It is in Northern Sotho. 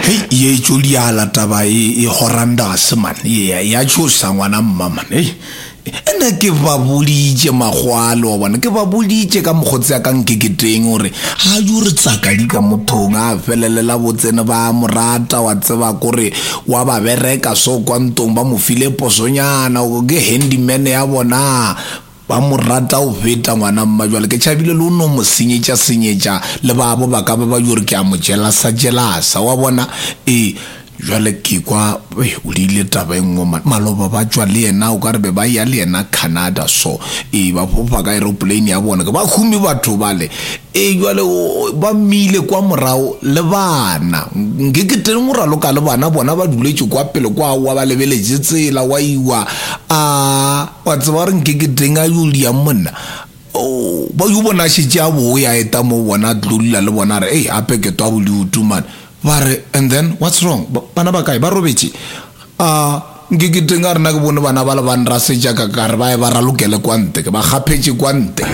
Hei, ye tšo diala taba e, e horrendous man. Ye ya tšhosa ngwana mma man. Hei. Ene ke ba boditše magwalo wa bona, ke ba boditše ka mokgotsi ya ka nkeketeng gore ga yo re tsakadi ka mothong a felelela botsene ba mo rata wa tseba kore wa ba bereka so kwa ntong ba mo file posonyana ke handyman ya bona Ba mo rata go feta ngwana mma jwale ke tšhabile le o no mo senyetša senyetša le babo ba ka ba ba yo re ke a mo jelasa jelasa wa bona ee jwale ke kwa o rile taba e nngwe man maloba ba tšwa le yena o ka re be ba ya le yena Canada so ee ba fofa ka aeroplane ya bona ke ba humi batho bale ee jwale ba mmile kwa morago le bana nke ke teng go raloka le bana bona ba duletše kwa pele kwa wa ba lebeletše tsela wa iwa a wa tseba gore nke ke teng a yo diang monna o ba yo bona šetše a boya eta mo bona a tlo dula le bona re ei ape ke twa bodutu man ba re and then what's wrong bana ba kae ba robetše a nke ke teng a rena ke bone bana ba le ba nrasetša ka kare ba ye ba ralokele kwa nte ke ba kgaphetše kwa nte.